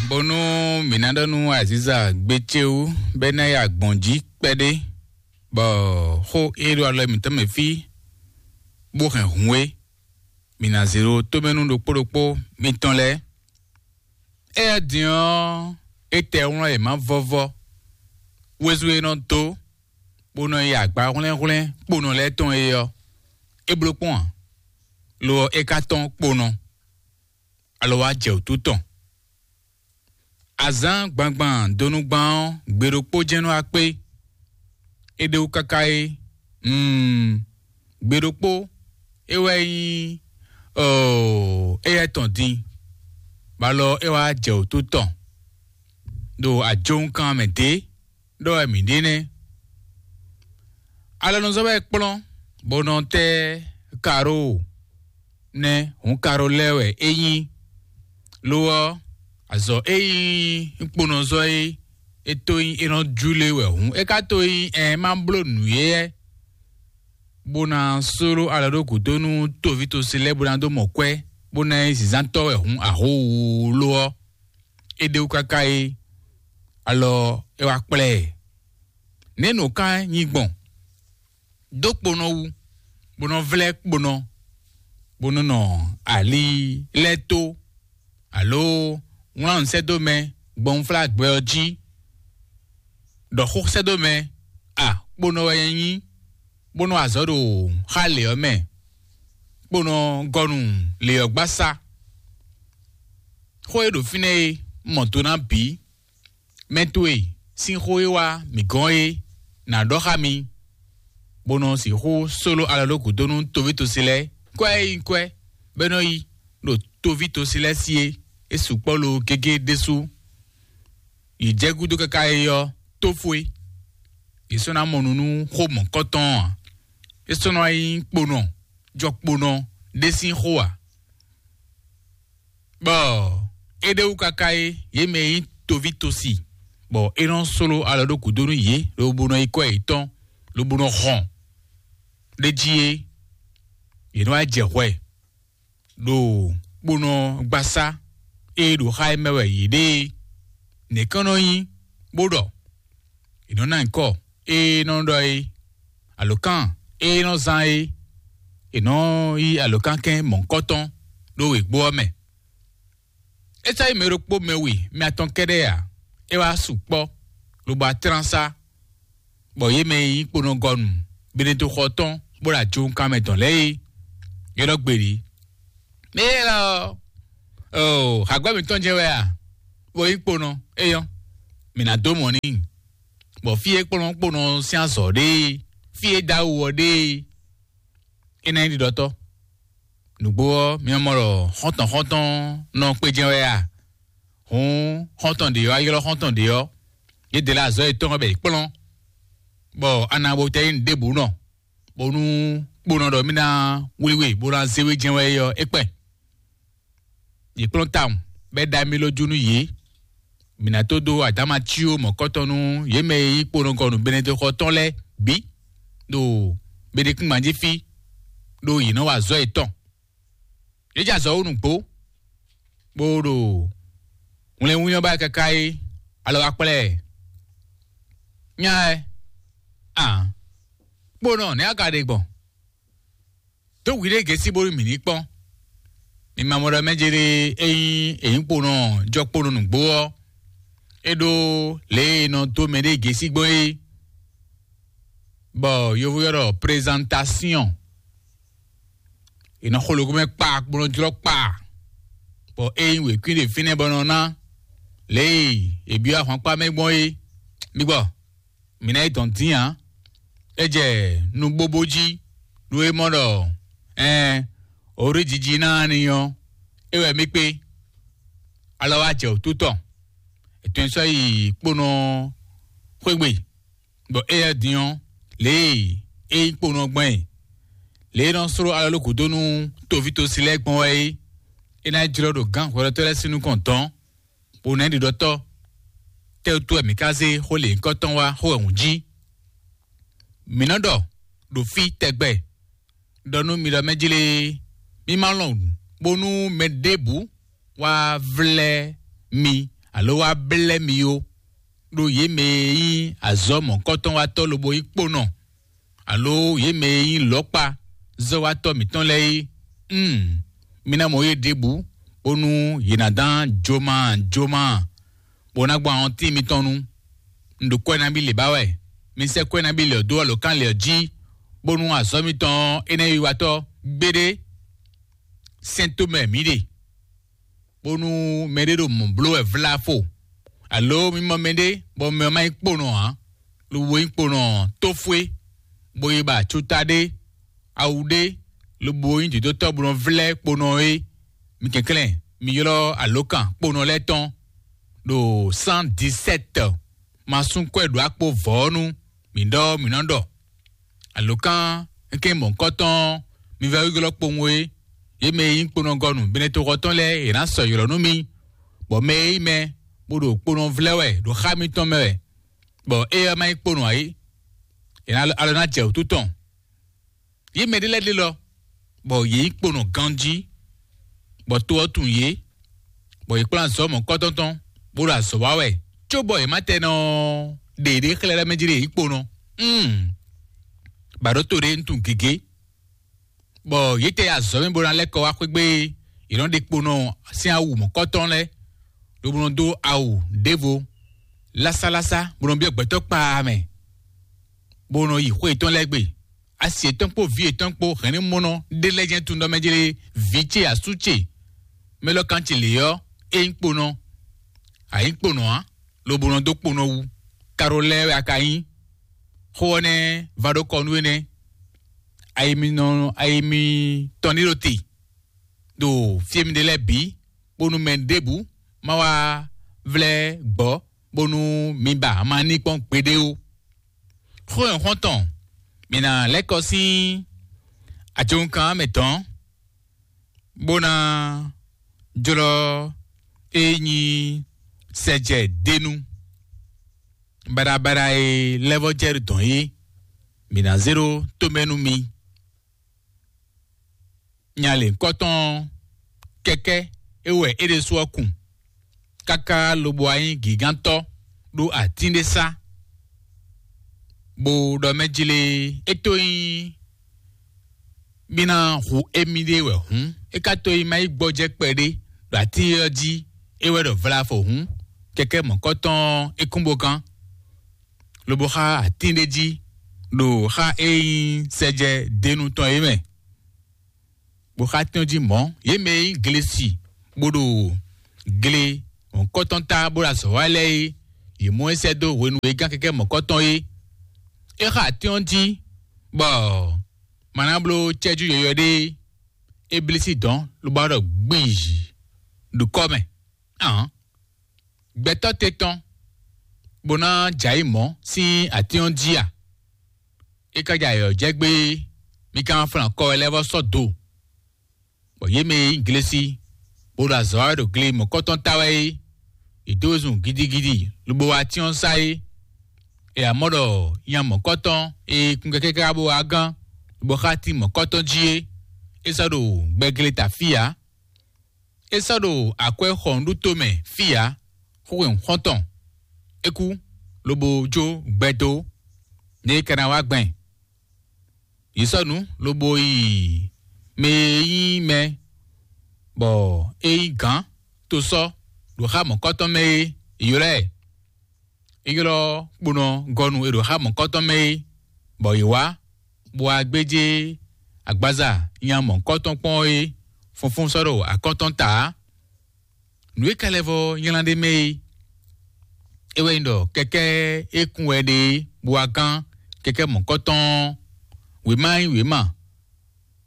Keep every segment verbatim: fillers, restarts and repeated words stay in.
Bónú mǐ ná ɖɔ nú Aziza gbé ce wú bɔ é ná yi agbɔ̌n jí kpɛɖé, bɔ xó e ɖo alɔ mǐtɔn mɛ fí bó hɛn hǔn é, mǐ ná zé ɖó tómɛnú ɖokpó ɖokpó mitɔn lɛ́ɛ. Éyɛ́ din ɔ́, é tɛ wlɔ́n e má vɔ́vɔ́ wezú e nɔ dó bó nɔ yi agba hwlɛ́nhwlɛ́n kponɔ lɛ́ɛ tɔn é ɔ́, é bló kpɔ́n ǎ; lo ɔ́, é ka tɔ́n kponɔ, alɔ wá jɛ wǔtu tɔn. Azǎn gbangban donugban ɔ́, gbe ɖokpó jɛ́n nɔ wá kpé; é ɖe wú káká é, mm, gbe ɖokpó é wɛ nyí, oo, éyɛ́ tɔn din, bɔ alɔ é wá jɛ wǔtu tɔn ɖo ajowunkan mɛ dě ɖɔ wɛ mǐ ɖe nɛ́. Alɔnuzɔ́ wɛ é kplɔ́n, bó nɔ tɛ́ karo nɛ́, hǔn karo lɛ́ɛ wɛ é nyí; lo ɔ́, azɔ̌ e nyí kponɔzɔ́ é, é tó nyí é nɔ júlé wɛ hǔn; é ka tó nyí ɛn má bló nǔ é, bó ná sló alɔ ɖó gǔdo nú toví tosi lɛ́ɛ bó ná dó mɔ kwɛ́, bó ná nyí zǐnzántɔ́ wɛ hǔn ahóhúló ɔ́, é ɖe wú káká é, alɔ é wá kplá ɛ. Nɛ̌ nǔ ka nyí gbɔn? Dó kponɔ wú, bó nɔ vlɛ́ kponɔ, bó nɔ nɔ ali lɛ́ɛ tó, alo wlán nǔ sɛ́ dó mɛ gbɔn unflágbɛ ɔ́ jí, ɖɔ xó sɛ́ dó mɛ, a kponɔ wɛ nyɛ nyí, bó nɔ azɔ̌ ɖo xá lě ɔ́ mɛ, kponɔ gɔnu lě ɔ́ gbasá. Xó e ɖo fínɛ́ é mɔ do ná bǐ. Mɛ towe sín xó e wá mǐ gɔ́n é nǎ ɖɔ xá mi, bó nɔ sixú sóló alɔ ɖó gǔdo nú toví tosi lɛ́ɛ. Kwɛ́ e nyí kwɛ́ bɔ é nɔ yi ɖo toví tosi lɛ́ɛ sí é, é sukpɔ́ lo gégé ɖésú. Yi jɛ gúdo káká é ɔ́, tófó é. Yě sɔ́ ná mɔ nǔ nú xó mɔ̌kɔtɔn ɔ́ ǎ. É sɔ́ nɔ wá nyí kponɔ, jɔkponɔ ɖé sín xó ǎ. Bɔ é ɖe wú káká é, yě mɛ e nyí toví tosi, bɔ é nɔ sló alɔ ɖó gǔdo nú yě, lobo nɔ yi kɔ yětɔn, lobo nɔ hɔn ɖ'é jí é, yě nɔ wá jɛ hwɛ ɖo kponɔ gbasá e ɖo xá é mɛ wɛ yě ɖe é. Nɛ̌ kɔn nɔ nyí bó ɖɔ? È nɔ ná nyǐkɔ e nɔ ɖɔ é, alǒkan e nɔ zán é, è nɔ yí alǒkankɛn mɔ̌hunkɔtɔn ɖó wěgbó ɔ́ mɛ. É sɔ́ nyí mɛ ɖokpó mɛ we, mɛ atɔn kɛ́ɖɛ́ ǎ; é wá sukpɔ́, lobo atlán sá, bɔ yě mɛ e nyí kponɔgɔnu Benedixɔ tɔn bó ɖo ajowunkan mɛ dɔn lɛ́ɛ é, é nɔ gbe ɖě. Mɛ élɔ́ ɔ́, oo, hǎgbɛ́ mǐtɔn jɛ́n wɛ a? Bó nyí kponɔ, éyɔ́, mǐ ná dó mɔ̌ n'i, bɔ fí e kplɔ́n kponɔ sín azɔ̌ ɖe é, fí e dó awu ɔ́ ɖe é, é ná nyí ɖiɖɔtɔ́. Nǔgbó ɔ́, mi mɔ ɖɔ xɔ́ntɔn xɔ́ntɔn nɔ kpé jɛ́n wɛ a? Hǔn xɔ́ntɔn ɖě ɔ́, a ylɔ́ xɔ́ntɔn ɖě ɔ́, yě dě lɛ́ azɔ̌ yětɔn ɔ́ bɔ yě kplɔ́n, bɔ a nǎ bo tɛ́ nyí nǔ ɖěbǔ nɔ, bónú kponɔ ɖɔ mì ná wlí we bó ná zé we jɛ́n wɛ é ɔ́, é kpɛn. Yě kplɔ́n tawun, bɔ é ɖa mì ló jú nú yě. Mǐ ná tó dó adǎma cí ó mɔ̌kɔtɔn nú yě mɛ e nyí kponɔgɔnu Benedexɔ tɔn lɛ́ɛ bǐ ɖo Benekúngban jí fí, ɖó yě nɔ wa azɔ̌ yětɔn. Yě jɛ azɔ̌ wú nǔgbó, bó ɖo wlɛnwínyɔ́ ba káká é, alɔ wá kplá ɛ. Nya ɛ, a kponɔ nɛ̌ a ka ɖe gbɔn? Dó hwiɖée gěsí bónú mǐ ní kpɔ́n. Mi ma mɔ ɖɔ mɛ jɛ ɖe é nyí ènyíkponɔ jɔkponɔ nǔgbó ɔ́, é ɖó lě e è nɔ dó mɛɖée gěsí gbɔn é, bɔ yovo ylɔ́ ɖɔ prezantasíɔn. È nɔ xo lǒ mɛ kpa, bó nɔ jlɔ́ kpa, bɔ é nyí wěkwín ɖe fínɛ́ bɔ nɔ ná lě e è byɔ́ ahwankpá mɛ gbɔn é. Mi gbɔ, mǐ ná yi dɔn dín ǎ. É jɛ nú bóbó jí, nú é mɔ ɖɔ ɛɛn, orí jiji ná ni ɔ́, é wɛ mì kpé. Alɔ wá jɛ wǔtu tɔn, è tɔn sɔ́ yi kponɔ xwé gbe, bɔ éyɛ́ din ɔ́, lě e é nyí kponɔ gbɔn é, lě e é nɔ sló alɔ ló gǔdo nú toví tosi lɛ́ɛ gbɔn wɛ é, é ná jlɔ́ ɖo gǎn hwɛɖɔtɔ́ lɛ́ɛ sín nukɔn dɔn, bó ná ɖi ɖɔtɔ́. Tɛ́ wútu wɛ mǐ ka zé xó lěhunkɔtɔn wá xó wɛ hǔn jí? Mǐ nɔ ɖɔ ɖo fí tɛgbɛ, ɖɔ nú mi ɖɔ mɛ jlé, mi ma lɔn bónú mɛ ɖěbǔ wá vlɛ́ mi alo wá blɛ́ mi ó, ɖó yě mɛ e nyí azɔ̌ mɔ̌hunkɔtɔn wá tɔ́ lobo nyí kponɔ, alo yě mɛ e nyí lɔ̌kpa zɔ́watɔ́ mǐtɔn lɛ́ɛ é, mm, mi ná mɔ yě ɖěbǔ, bónú yě ná dán joma joma, bó ná gbɔn ahɔntín mitɔn nu. Un ɖo kwɛ́ nabí lě ba wɛ; mi sɛ́ kwɛ́ nabí lě ɔ́ dó alǒkan lě ɔ́ jí, bónú azɔ̌ mitɔn énɛ́ wiwatɔ́ gbéɖé sɛ́n tomɛ mǐ ɖe, bónú mɛɖé ɖo mɔ̌ bló wɛ vlá fo, alo mi mɔ mɛɖé bɔ mɛ ɔ́ má nyí kponɔ ǎ, lobo nyí kponɔ tófwé, bó yi ba cuta ɖé, awu ɖé, lobo nyí dǒdótɔ́ bó nɔ vlɛ́ kponɔ é. Mi kɛnklɛ́n, mi ylɔ́ alǒkan kponɔ lɛ́ɛ tɔn ɖo cent dix-sept, ma sú kwɛ́ ɖo akpo vɔ̌ ɔ́ nu, mǐ ɖɔ mǐ nɔ ɖɔ. Alǒkan kɛ́n mɔ̌hunkɔtɔn, mi vɛ́ ylɔ́ kpowun é, yě mɛ e nyí kponɔgɔnu Benetoxɔ tɔn lɛ́ɛ, yě ná sɔ́ ylɔ́ nú mi, bɔ mɛ e nyí mɛ bó ɖo kponɔ vlɛ́ wɛ ɖo xá mitɔn mɛ wɛ, bɔ éyɛ́ ɔ́ má nyí kponɔ ǎ é, è nǎ alɔ ná jɛ wǔtu tɔn. Yě mɛ ɖé lɛ́ɛ ɖe lɔ, bɔ yě nyí kponɔ ganjí, bɔ to ɔ́ tunwun yě, bɔ yě kplɔ́n azɔ̌ mɔ̌hunkɔtɔn tɔn, bó ɖo azɔ̌ wa wɛ, cóbɔ yě má tɛ nɔ ɖe yěɖée xlɛ́ ɖɔ mɛ jí ɖe yě nyí kponɔ. Mm. Ba ɖó to ɖé, un tunwun gěgé, bɔ yě tɛ azɔ̌ mɛ bó ná lɛ́ kɔ wá xwé gbé, yě nɔ ɖe kponɔ sín awu mɔ̌hunkɔtɔn lɛ́ɛ, lobo nɔ dó awu ɖěvo lásálása, bó nɔ byɔ́ gbɛtɔ́ kpaa mɛ, bó nɔ yi xwé yětɔn lɛ́ɛ gbe. Asi yětɔn kpó vǐ yětɔn kpó hɛ̌nnumɔnɔ ɖé lɛ́ɛ jɛ́n tunwun ɖɔ mɛ jlé vǐ ce asú ce mɛ lɔ kan ce lě ɔ́, é nyí kponɔ, a nyǐ kponɔ ǎ, lobo nɔ dó kponɔ wú. Karo lɛ́ɛ wɛ a ka nyí. Xó ɔ́ nɛ́ vá ɖó kɔ nú énɛ́. Ayi mi nɔ ayi mitɔn ní ɖo te ɖo fí e mi ɖe lɛ́ɛ bǐ, bónú mɛ ɖěbǔ má wá vlɛ́ gbɔ̌, bónú mi ba ama ní kpɔ́n gbeɖé ó. Xó nyɔ̌xɔ́ntɔn, mǐ ná lɛ́ kɔ sín ajɔnkan mɛ tɔn, bó ná jlɔ́ é nyí sɛjɛ dénú. Baɖabaɖa e lɛ́ vɔ́ jɛ dɔn é, mǐ ná zé ɖó tomɛ nú mi. Nya lěhunkɔtɔn ɔ́, kɛkɛ́ é wɛ é ɖésú ɔ́ kun, káká lobo wá nyí gǐgántɔ́ ɖó atín ɖé sá, bó ɖɔ mɛ jlé é tó nyí mì ná hu émí ɖé wɛ hǔn, é ka tó nyí má yi gbɔjɛ́ kpɛɖé ɖo atín ɔ́ jí, é wɛ ɖɔ vlafɔ hǔn, kɛkɛ́ mɔ̌kɔtɔn ɔ́ é kún bó gán, lobo xá atín ɖé jí ɖo xá e nyí sɛjɛ dénú tɔn é mɛ. Bó xá tɛ́njí mɔ̌, yě mɛ e nyí glesi bó ɖo gle mɔ̌kɔtɔn ta bó ɖo azɔ̌ wa lɛ́ɛ é, yě mɔ é sɛ́ dó hwenu e é gán kɛkɛ́ mɔ̌kɔtɔn é. É xa atín ɔ́ jí, bɔ ma ná bló cɛ́jú yɔywɛ ɖé é. É blí sí dɔ̌n lobo wá ɖɔ gbízhi ɖo kɔ́ mɛ. Ahǎn, gbɛtɔ́ te tɔn bó ná jɛ ayǐ mɔ̌ sín atín ɔ́ jí a? É ka jɛ ayǐ ɔ́ jɛ gbé, mi ka ma flán kɔ wɛ lɛ́ɛ vɔ́ sɔ́ do, bɔ yě mɛ e nyí glesi bó ɖo azɔ̌ wa wɛ ɖo gle mɔ̌kɔtɔn ta wɛ é, yě dó zun gidigidi lobo wá atín ɔ́ sá é. È amɔ̌ ɖɔ nya mɔ̌kɔtɔn e kun kɛkɛ́ káká bó wá gán, lobo xá tín mɔ̌kɔtɔn jí é, é sɔ́ ɖo gbɛgleta fí ǎ. É sɔ́ ɖo akwɛ́ xɔnɖúto mɛ fí ǎ, xúxwɛ̌n xɔ́ntɔn. É kú, lobo jó gbɛ dó, nɛ́ é ka ná wá gbɛn. Yě sɔ́ nǔ lobo yi mɛ e nyí mɛ, bɔ é nyí gǎn tosɔ́ ɖo xá mɔ̌kɔtɔn mɛ é, è ylɔ́ ɛ. É ylɔ́ kponɔ gɔ́nu e ɖo xá mɔ̌kɔtɔn mɛ é, bɔ yě wá, bó wá gbéjé agbaza nya mɔ̌kɔtɔn kpɔ́n é, funfún sɔ́ ɖo akɔ́ntɔn ta ǎ. Nǔ e ka lɛ́ vɔ́ nylá ɖ'é mɛ é, é wɛ nyí ɖɔ kɛkɛ́ e kún wɛ ɖe é, bó wá gán kɛkɛ́ mɔ̌kɔtɔn ɔ́, wěma nyí wěma,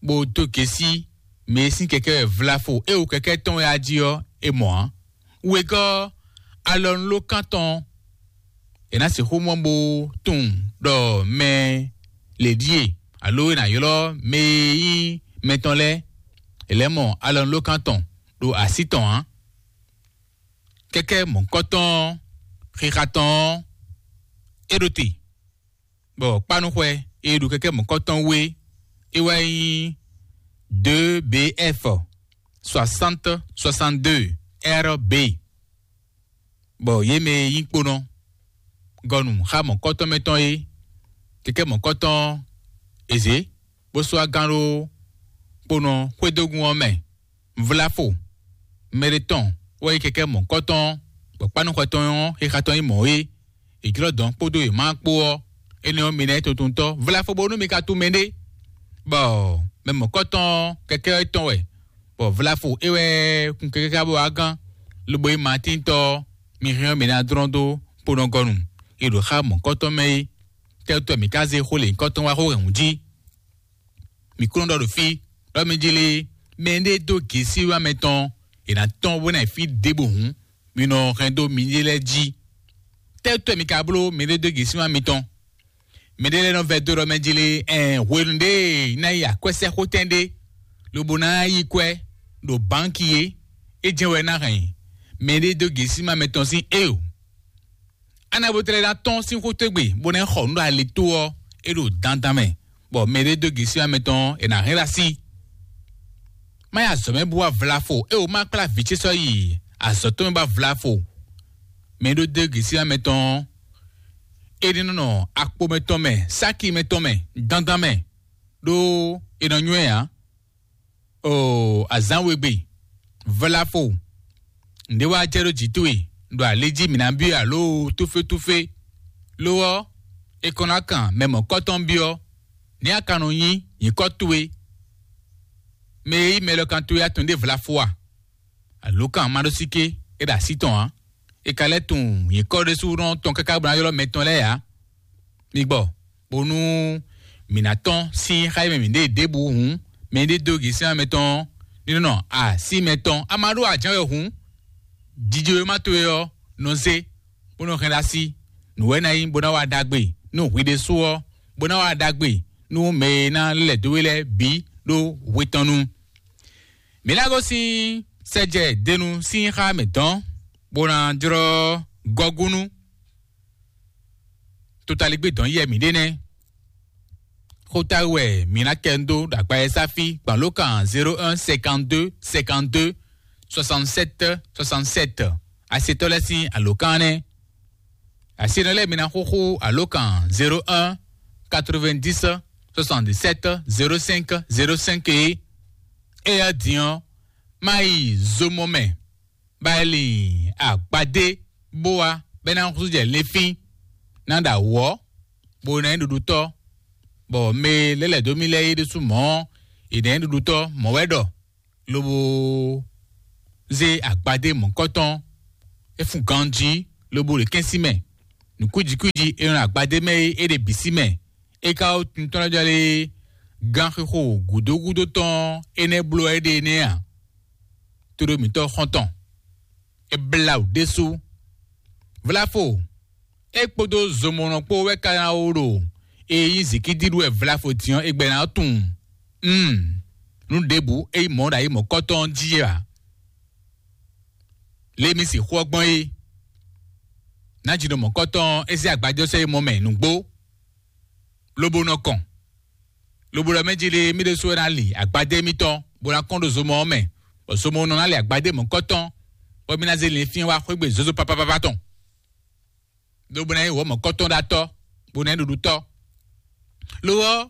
bó dó gěsí mɛ e sín kɛkɛ́ wɛ vlafo e wú kɛkɛ́ tɔn wɛ a jí ɔ́, é mɔ ǎ. Wegɔ́ alɔnulókan tɔn, è nǎ sixú mɔ bó tunwun ɖɔ mɛ lě ɖíe, alo è nǎ ylɔ́ mɛ e nyí mɛ tɔn lɛ́ɛ, è lɛ́ mɔ alɔnulókan tɔn ɖo así tɔn ǎ. Kɛkɛ́ mɔ̌hunkɔtɔn ɔ́, xixa tɔn ɔ́, é ɖo te, bɔ kpánuxwɛ e ɖo kɛkɛ́ mɔ̌hunkɔtɔn wú é, é wɛ nyí deux B F soixante soixante-deux R B. Bɔ yě mɛ e nyí kponɔ gɔnu xá mɔ̌kɔtɔn mɛ tɔn é, kɛkɛ́ mɔ̌kɔtɔn ɔ́, è zě bó sú agán ɖó kponɔ xwédógún ɔ́ mɛ. Vlafo mɛ ɖé tɔn wɛ nyí kɛkɛ́ mɔ̌kɔtɔn ɔ́, bɔ kpánúxɔ tɔn ɔ́, xixa tɔn nyí mɔ̌ é. È jlɔ́ dɔ̌n kpódó yě má kpó ɔ́, énɛ́ ɔ́, mi ná nyí tuntuntɔ́ vlafo bónú mi ka tunwun mɛɖé. Bɔ mɛ mɔ̌kɔtɔn ɔ́, kɛkɛ́ ɔ́ tɔn wɛ, bɔ vlafo é wɛ kun kɛkɛ́ ká bó wá gán, lobo nyí Matíntɔ́ ɔ́, mi hɛn ɔ́, mi ná dlɔ́n dó kponɔgɔnu e ɖo xá mɔ̌kɔtɔn mɛ é. Tɛ́tɔ́ mǐ ka zé xó lěhunkɔtɔn wá xó hɛ̌nnu jí? Mǐ kún nɔ ɖɔ ɖo fí, ɖɔ mi jí lé, mɛ e ɖé dó gěsíwá mɛtɔn, è nǎ tɔ́n bó ná yi fí ɖěbǔ hǔn, mi nɔ hɛn dó miɖée lɛ́ɛ jí. Tɛ́tɔ́ mi ka bló mɛɖé dó gěsíwá mitɔn? Mɛɖé lɛ́ɛ nɔ vɛdó ɖɔ mɛ jí lé, ɛn hwenu ɖé ná yi akwɛ́sɛ́xotɛn ɖé, lobo ná yí kwɛ́ ɖo bǎnki é, é jɛ́n wɛ ná hɛn mɛɖé dó gěsíwá mɛtɔn sín é o. Anabotlɛ ná tɔ́n sín xótógbe bó ná xɔ nǔ ɖo alitó ɔ́, é ɖo dandan mɛ, bɔ mɛ ɖé dó gěsíwá mɛtɔn ɔ́, è nǎ hɛn ɖo así. Má yi azɔ̌ mɛ bú wá vlafo, é wǒ má kplá vǐ ce sɔ́ yi azɔ̌ tɔn mɛ bá vlafo. Mɛ ɖó dó gěsíwá mɛtɔn ɔ́, é ní nɔ akpo mɛtɔn mɛ, sáki mɛtɔn mɛ, dandan mɛ, ɖó è nɔ nywɛ́ ǎ. Oo, azǎn we gbe, vlafo, nǔɖé wá jɛ ɖó jǐ towe ɖo ali jí mǐ ná byɔ́ alo túfétúfé. Lo ɔ́, è kɔn ná kan mɛ mɔ̌kɔtɔn byɔ́, nɛ̌ a ka nɔ nyí nyǐkɔ towe? Mɛ e yí mɛ lɔ kan towe atɔn ɖé vlafo a? Alo kan ma ɖó síké, é ɖo así tɔn ǎ. È ka lɛ́ tunwun nyǐkɔ ɖésúnɔ tɔn káká bó ná ylɔ́ mɛ tɔn lɛ́ɛ ǎ. Mi gbɔ, bónú mǐ ná tɔ́n sín xá e mɛ mǐ ɖe ɖěbǔ hǔn, mɛ e ɖe dó gěsín mɛ tɔn ɔ́, ní nɔ así mɛ tɔn. A ma ɖó ajǎn wɛ hǔn, jijewéma towe ɔ́ nɔ zé, bó nɔ hɛn ɖó así. Nǔ wɛ ná nyí bó ná wa ɖagbe nú hwi ɖésú ɔ́, bó ná wa ɖagbe nú mɛ e ná lɛ́ dó we lɛ́ɛ bǐ ɖó hwe tɔn nu. Mǐ ná gosín sɛjɛ denu sín xá mǐtɔn, bó ná jlɔ́ gɔ́gúnú. Totaligbé dɔn yɛ mǐ ɖe nɛ́. Xóta wɛ mǐ ná kɛ dó ɖo akpa e sáfí gban ló kan zéro un cinquante-deux cinquante-deux soixante-sept soixante-sept. Asetɔ́ lɛ́ɛ sín alǒkan nɛ́. Asenɔ lɛ́ɛ mi ná xúxú alǒkan zéro un quatre-vingt-dix soixante-dix-sept zéro cinq zéro cinq é. Éyɛ́ din ɔ́, má yi zomɔ mɛ, bá yi lin agbadé bó wá, bɛ́ ná xúxú jɛ linfín, ná ɖo awɔ̌, bó ná nyí ɖuɖutɔ́, bɔ mɛ e lɛ́ lɛ̌ dó mì lɛ́ɛ é ɖésú mɔ̌ ɔ́, è nǎ nyí ɖuɖutɔ́ mɔ̌ wɛ ɖɔ, lobo zé agbadé mɔ̌kɔtɔn, é fun ganjí, lobo ɖe kɛ́n sí mɛ. Nǔkújikúji e nɔ agbadé mɛ é, é ɖe bǐ sí mɛ. É ka wú tuntɔ́n lɛ́ɛ jɔ lé gán xixo gǔdo gúdo tɔn énɛ́ bló wɛ é ɖe énɛ́ a? Tóɖó mǐtɔn xɔ́ntɔn, é blá wǔ ɖésú. Vlafo, é kpódó zomɔnɔ kpó wɛ ka ná wó ɖo e nyí zikídíɖú wɛ vlafo din ɔ́, é gbɛ ná tunwun. Mm, nú ɖěbǔ é nyí mɔ̌ ɖo ayǐ mɔ̌kɔ́tɔn jí ǎ. Lě mi sixú ɔ́ gbɔn é, nǎjínɔ mɔ̌kɔ́tɔn é zé agbadé sɔ́ yi mɔ mɛ nǔgbó, lobo nɔ kɔn, lobo ɖɔ mɛ jí lé mì ɖésú wɛ ná li agbadé mitɔn, bó ná kɔn ɖo zomɔ ɔ́ mɛ, bɔ zomɔ nɔ ná li agbadé mɔ̌kɔ́tɔn, bɔ mì ná zé linfín wá xwé gbe zozo papapapa tɔn. Lobo ná nyí wǒ mɔ̌kɔ́tɔn ɖo atɔ́, bó ná nyí ɖuɖutɔ́. Lo ɔ́,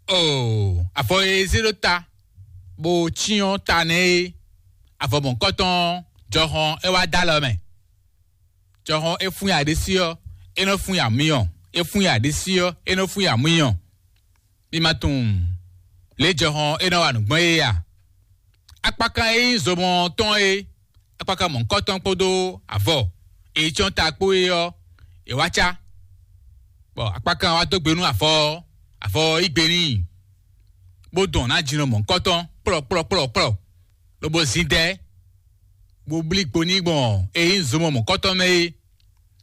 oo, avɔ e zé ɖó ta, bó cyɔ́n ta nɛ́ é, avɔ mɔ̌kɔ́tɔn jɔhɔn é wá dó alɔ mɛ. Jɔhɔn é fún ya ɖésí ɔ́, é nɔ fún ya myɔ, é fún ya ɖésí ɔ́, é nɔ fún ya myɔ. Mi ma tunwun lě jɔhɔn é nɔ wa nǔ gbɔn é a? Akpakan e nyí zomɔ tɔn é, akpakan mɔ̌hunkɔtɔn kpódó avɔ e yi cyɔ́n ta kpó é ɔ́, è wá cá, bɔ akpakan wá dó gbe nú avɔ ɔ́, avɔ ɔ́ yí gbe n'i, bó dɔn nǎ jinɔ mɔ̌hunkɔtɔn kplɔ́kplɔ́kplɔ́kplɔ́, lobo zin dɛ, bó blí gbo n'i gbɔn e nyí zomɔ mɔ̌hunkɔtɔn mɛ é.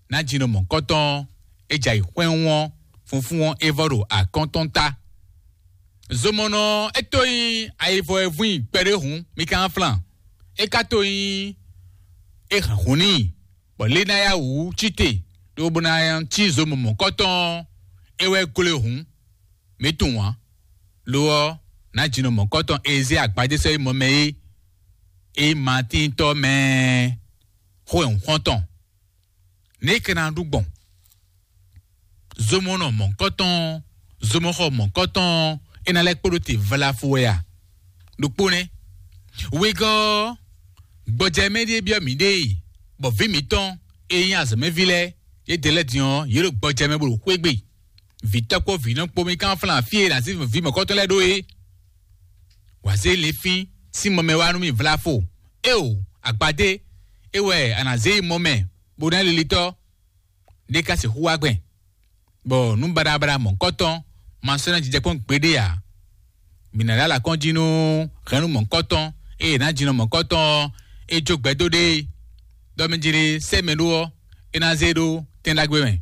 Nǎ jinɔ mɔ̌hunkɔtɔn ɔ́, é jɛ ayǐ xwɛ́nwún ɔ́, funfún ɔ́ é vɔ ɖo akɔ́ntɔn ta. Zomɔnɔ ɔ́, é tó nyí ayivɔ e vún i kpɛɖé hǔn, mi ka ná flan. É ka tó nyí é hɛn hǔn n'i, bɔ lě ná yá wǔ cí te, lobo ná cí zomɔ mɔ̌kɔtɔn ɔ́, é wɛ gló e hǔn. Mǐ tunwun ǎ. Lo ɔ́, nǎ jinɔ mɔ̌kɔtɔn e zé agbadé sɔ́ yi mɔ mɛ é, é nyí Matíntɔ́ mɛ xó e hǔn xɔ́n tɔn. Nɛ̌ é ka ná ɖu gbɔn? Zomɔnɔ mɔ̌hunkɔtɔn, zomɔxɔ mɔ̌hunkɔtɔn, é ná lɛ́ kpo ɖó te vlafo wɛ a? Ɖokpó nɛ́. Wegɔ́ ɔ́, gbɔjɛmɛ ɖíe byɔ́ mǐɖée, bɔ vǐ mǐtɔn e nyí azɔ̌mɛví lɛ́ɛ, yědɛɛ lɛ́ɛ din ɔ́, yě ɖo gbɔjɛmɛ bó ɖo xwé gbe. Vǐtɔ́ kpó vǐnɔ kpó mì kán flán fí e è nǎ zé vǐ mɔ̌kɔtɔn lɛ́ɛ ɖó é. Wǎ zé linfín sín mɔ mɛ wá nú mì vlafo. Éeǒ, agbadé, é wɛ a nǎ zé yi mɔ mɛ, bó ná lilitɔ́. Ɖé ka sixú wá gbɛn, bɔ nǔ baɖabaɖa mɔ̌hunkɔtɔn ma sɔ́ ná jijɛ kpɔ́n gbeɖé ǎ. Mǐ ná ɖó alakɔ́n jí nú hɛ̌nnu mɔ̌hunkɔtɔn e è nǎ jinɔ mɔ̌hunkɔtɔn ɔ́, é jó gbɛdó ɖé. Ɖɔ mɛ jlé sɛ́ mɛ ɖó ɔ́, é ná zé ɖó tɛn ɖagbe mɛ.